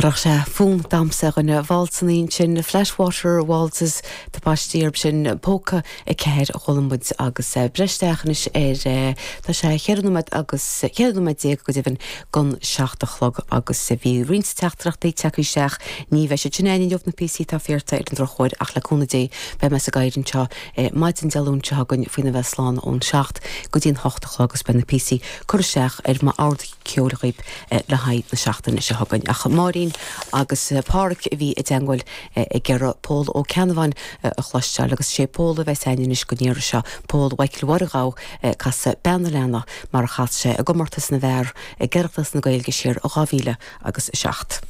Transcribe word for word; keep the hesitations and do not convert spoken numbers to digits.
Chuirfeadh sé fonn damhsa ar dhuine válsanna sin Flashwater Waltzes tapáistí sin póca a ceathair a chuala muid agus breisteach anois ar tá sé cheithre nóiméad agus ceithre nóiméad déag go deimhin don seacht a chlog agus bhí roinnt teachtaireachtaí tagtha isteach ní bheidh sé sin inniu na píosaí atá iarrtha ar an drochuair ach le cúnamh Dé beidh mé sa gcathaoir anseo maidin Dé Luain seo chugainn faoina bheith slán ón seacht go dtí an hocht a chlog agus beidh na píosaí curtha isteach ar m'ord ceoil agaibh le haghaidh na seachtaine seo chugainn. Ach Máirín agus Pádraig a bhí i dteagmháil ag iarraidh Pól Ó Ceannabháin a chloisteáil agus sé Pól a bheas againn anois don iarraidh seo Pól Mhichael Mháire Ghabha casadh Bean an Leanna mar a chas sé i gcomórtas na bhfear ag Oireachtas na Gaeilge siar dhá mhíle agus a seacht.